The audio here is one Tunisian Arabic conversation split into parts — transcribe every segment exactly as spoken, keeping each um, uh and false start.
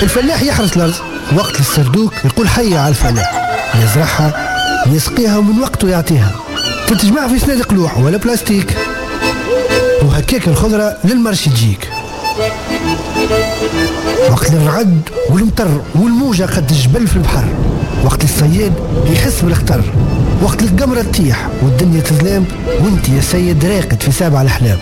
الفلاح يحرث الأرض وقت السردوك يقول حي على الفلاح، يزرعها يسقيها ومن وقته يعطيها، تتجمع في صناديق لوح ولا بلاستيك، وهكاك الخضرة لل marché تجيك. وقت الرعد والمطر والموجة قد الجبل في البحر، وقت الصياد يحس بالخطر، وقت القمرة تطيح والدنيا تظلام وانت يا سيد راقد في سابع الأحلام.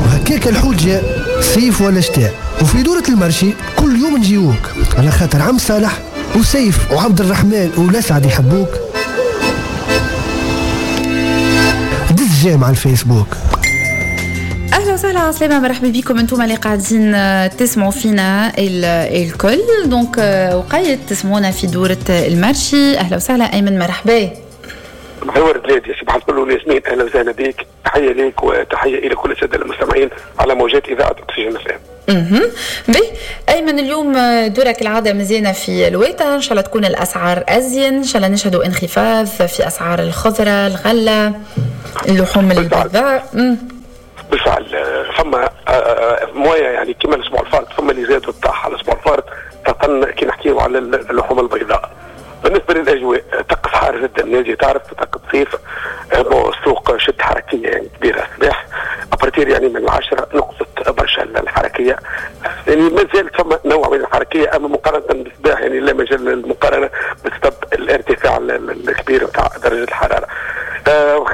وهكاك الحوت جاء صيف ولا شتاء، وفي دورة ال marché كل يوم نجيوك على خاطر عم صالح وسيف وعبد الرحمن ولسعد يحبوك. دز j'aime على الفيسبوك. اهلا وسهلا، عسلامة، مرحبا بكم انتم اللي قاعدين تسمعوا فينا الكل. donc وقيت تسمعونا في دورة ال marché. اهلا وسهلا ايمن، مرحبا. محور بلادي صباح الفل والياسمين، اهلا وسهلا بك، تحية لك وتحية الى كل السادة المستمعين على موجات اذاعة اكسجين اف ام. اها بي ايمن، اليوم دورك العادة مزيانه في الويتا، ان شاء الله تكون الاسعار ازين، ان شاء الله نشهدوا انخفاض في اسعار الخضرة، الغلة، اللحوم البيضاء. بالفعل فما مويه يعني كما الاسبوع الفارط فما اللي زاد وطاح على الاسبوع الفارط، خاصة كي نحكيو على اللحوم البيضاء. بالنسبة للاجواء طقس حار جدا نادي، تعرف طقس صيف، السوق شد حركية يعني كبيرة الصباح à partir يعني من العشرة نقصت برشا الحركية، يعني ما زالت فما نوع من الحركية اما مقارنة بالصباح يعني لا مجال للمقارنه بسبب الارتفاع الكبير نتاع درجه الحرارة. آه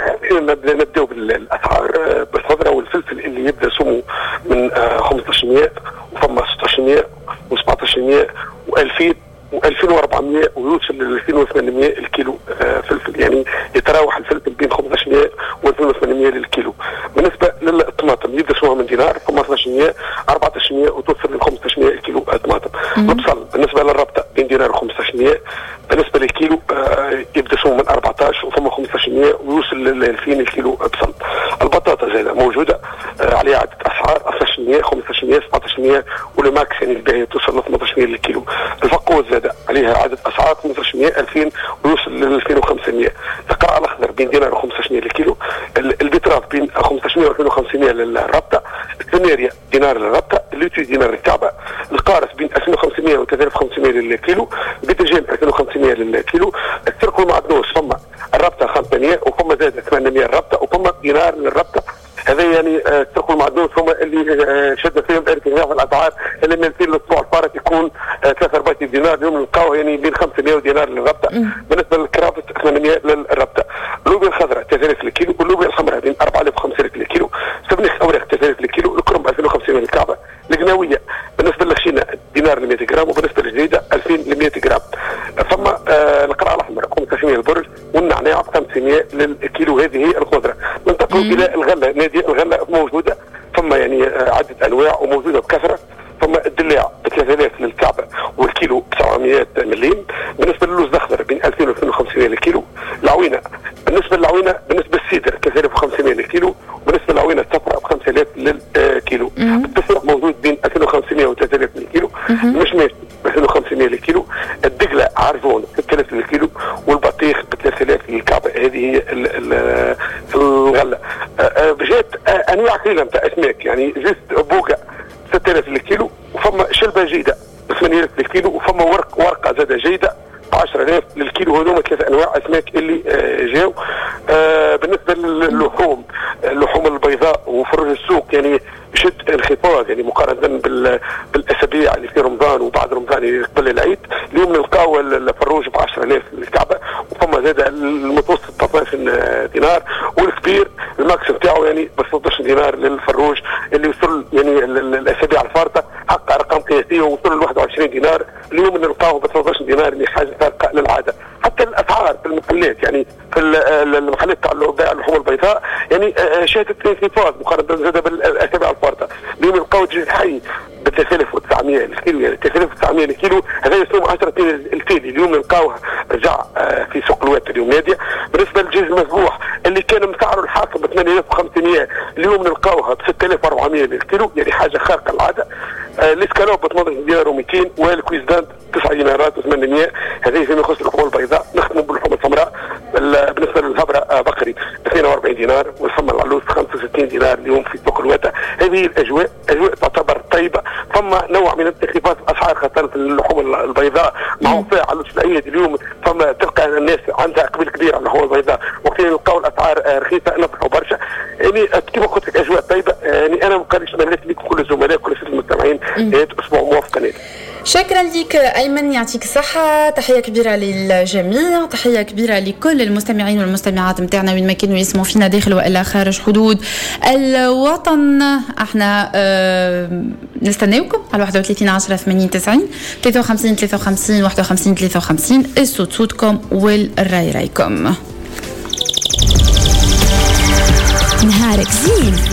نبداو بالاسعار بالخضره والفلفل اللي يبدا سمو من آه خمسة عشر وفما ستة عشر وسبعة عشر وألفين وألفين وأربعمية ويوصل ل ألفين وثمانمية الكيلو آه فلفل، يعني يتراوح الفلفل بين خمسة عشر و ألفين وثمانمية للكيلو. بالنسبة للطماطم يبدا سومها من دينار خمسة عشر أربعة عشر وتوصل ل خمسة عشر الكيلو طماطم. البصل بالنسبة للربطه بين دينار وخمسة عشر، بالنسبة للكيلو آه يبدا سومه من أربعة عشر وفما خمسة عشر ويوصل ل ألفين الكيلو بصل. البطاطا زاده موجودة آه عليها عده اسعار اثنا عشر خمسة عشر سبعة عشر وال max يعني الباهيه توصل ل ثمانية عشر للكيلو. الفقوس زاده عليها عدد اسعار خمسة عشر ألفين ويوصل ل ألفين وخمسمية. القرع الاخضر بين دينار وخمسة عشر للكيلو، ال betterave بين خمسة عشر و ألفين وخمسمية للربطه، السناريا دينار للربطه، اللوتي دينار للكعبة، القارص بين ألفين وخمسمية و ثلاثة آلاف وخمسمية للكيلو، البتنجان ألفين وخمسمية للكيلو، السرق والمعدنوس فما الربطه خمسمية وفما زاد ثمانمية الربطه وفما دينار للربطه. هذا يعني السرق والمعدنوس هما اللي شد فيهم ارتفاع في الاسعار اللي من في الاسبوع الفارط يكون ثلاثة أربعة دينار، اليوم نلقاوه يعني بين خمسمية دينار للربطه. بالنسبة للكرافس ثمانمية للربطه. اللوبيا الخضراء ثلاثة آلاف للكيلو، واللوبيا الحمراء بين أربعة آلاف وخمسمية للكيلو، سبنيخ اوراق ثلاثة آلاف للكيلو، الكرنب ألفين وخمسمية للكعبة، القناويه بالنسبة للخشينه دينار ل مية غرام، وبالنسبة للجديده ألفين ل مية غرام. ثم آه القرع الاحمر خمسة عشر البرج، والنعناع خمسمية للكيلو. هذه هي الخضرة. ننتقل الى الغلة نادي، الغلة موجودة ثم يعني عده انواع وموجودة بكثرة. ثم الدلاع ب ثلاثة آلاف للكعبة والكيلو ب سبعمية مليم. بالنسبة للوز الاخضر بين ألفين و ألفين وخمسمية للكيلو. العوينة بالنسبة للعوينه بالنسبة للسيدر ثلاثة آلاف وخمسمية للكيلو، وبالنسبة للعوينه الصفراء ب خمسة آلاف للكيلو. التفاح موجود بين ألفين وخمسمية و ثلاثة آلاف للكيلو، المشماش ب ألفين وخمسمية للكيلو، الدقله عرجون ستة آلاف للكيلو، والبطيخ ب ثلاثة آلاف للكعبة. هذه هي الغلة. جات انواع قليله نتاع اسماك، يعني juste بوكا ستة آلاف للكيلو، وفما شلبه جيدة ب ثمانية آلاف للكيلو، وفما ورق ورقة زاده جيدة ب عشرة آلاف للكيلو. هذوما ثلاث انواع اسماك اللي جاو. بالنسبة للحوم، اللحوم البيضاء وفرج السوق يعني شد انخفاض يعني مقارنة بالاسابيع اللي في رمضان وبعد رمضان يعني قبل العيد. اليوم نلقاو الفروج ب عشرة آلاف للكعبة، وفما زاد المتوسط ثلاثة عشر دينار، والكبير ال max نتاعو يعني ب ستة عشر دينار للفروج اللي وصل يعني الاسابيع الفارطه حقق ارقام قياسية ووصل ل واحد وعشرين دينار. اليوم نلقاوه ب ثلاثة عشر دينار، اللي حاجة فارقه للعادة. حتى الاسعار في المحلات يعني في المحلات تاع بيع اللحوم البيضاء يعني شهدت انخفاض مقارنة زاد بالاسابيع الفارطه. اليوم نلقاو دجاج حي ب ثلاثة آلاف وتسعمية الكيلو، يعني ثلاثة آلاف وتسعمية الكيلو هذا يسوم عشرة التالي. اليوم نلقاوه رجع في سوق الوات اليوم ناديه. بالنسبة للدجاج المذبوح اللي كان مسعره الحاكم ب ثمانية آلاف وخمسمية، اليوم نلقاوها ب ستة آلاف وأربعمية للكيلو، يعني حاجة خارقة العادة. الاسكالوب ب ثمانية دينار ومئتين، وال cuisse dinde تسعة دينارات وثمانمية. هذه فيما يخص اللحوم البيضاء. نختموا باللحوم السمراء. بالنسبة للهبره بقري اثنين وأربعين دينار، والفم العلوس خمسة وستين دينار اليوم في سوق الواتة. هذه الاجواء اجواء تعتبر طيبة، فما نوع من انخفاض الاسعار خاصة في اللحوم البيضاء مع وفاء على العيد اليوم، فما تلقى الناس عندها اقبال كبير على اللحوم البيضاء، وقت نلقاو الاسعار رخيصة نفرحوا برشا. يعني كما قلت لك اجواء طيبة. يعني انا مقاليش تمنيت لكم كل الزملاء كل المستمعين اسبوع موفق. شكرا لك ايمن، يعطيك الصحة، تحية كبيرة للجميع، تحية كبيرة لكل المستمعين والمستمعات نتاعنا وين ما كانوا يسمعوا فينا داخل والا خارج حدود الوطن. احنا اه نستناوكم على واحد وثلاثين عشرة ثمانين تسعين، ثلاثة وخمسين ثلاثة وخمسين واحد وخمسين ثلاثة وخمسين. الصوت صوتكم والراي رايكم. نهارك زين.